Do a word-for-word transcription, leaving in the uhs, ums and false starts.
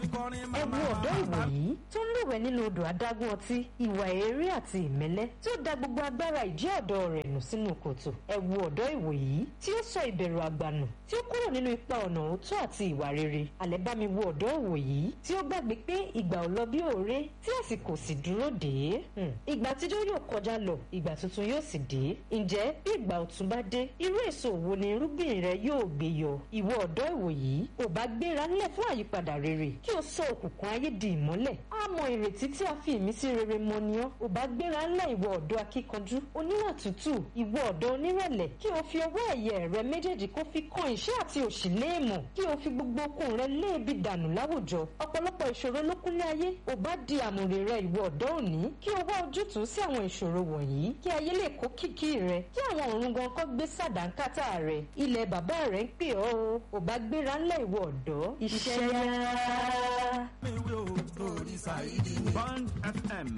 fi kọrin Ẹ wo ọ̀dọ́ ìwòyí tó ń lúwẹ̀ẹ́ nínú odò adágún ọtí, ìwà eré àti ìmẹ́lẹ́, tí ó da gbogbo agbára ìjẹ́ ọ̀dọ́ rẹ̀ nù sínú kòtò. Ẹ wo ọ̀dọ́ ìwòyí tí ó sọ ìbẹ̀rù àgbà nù, tí ó kúrò nínú ipa ọ̀nà òótọ́ àti ìwà rere. Àlẹ́ bá mi wo ọ̀dọ́ ìwòyí tí ó gbàgbé pé ìgbà ò lọ bí òré, tí àsìkò sì dúró dè é. Hmm. Ìgbà àtijọ́ yóò kọjá lọ, ìgbà tuntun yóò sì dé. Ǹjẹ́ bí ìgbà ọ̀tun bá dé, irú èso wo ni irúgbìn rẹ yóò gbé yọ? Ìwọ ọ̀dọ́ ìwòyí, ò bá gbéra ńlẹ̀ fún àyípadà rere, kí o sọ òkùnkùn ayé di ìmọ́lẹ̀. Á mọ ìrètí tí a fi ìmísí rere mọ ni ọ́. Ò bá gbéra ńlẹ̀, ìwọ ọ̀dọ́ akíkanjú, oníwà tútù, ìwọ ọ̀dọ́ onírẹ̀lẹ̀, kí o fi ọwọ́ ẹ̀yẹ rẹ méjèèjì kó fi kan ìṣẹ́ àti òṣì léèmọ̀, kí o fi gbogbo okun rẹ léèbi dànù láwùjọ. Ọ̀pọ̀lọpọ̀ ìṣòro ló kúnlé ayé. Ò bá di àmùrè rẹ, ìwọ ọ̀dọ́ òní, kí o wá ojútùú sí àwọn ìṣòro wọ̀nyí, kí ayé lè kó kìkì rẹ, kí àwọn ọ̀run gan kọ́ gbé sàdánkátà rẹ. Ilẹ̀ bàbá rẹ ń pè ọ́ o. Ò bá gbéra ńlẹ̀, ìwọ ọ̀dọ́. Iṣẹ́ yá. Mi wí o torí Saidi ni. Bond F M.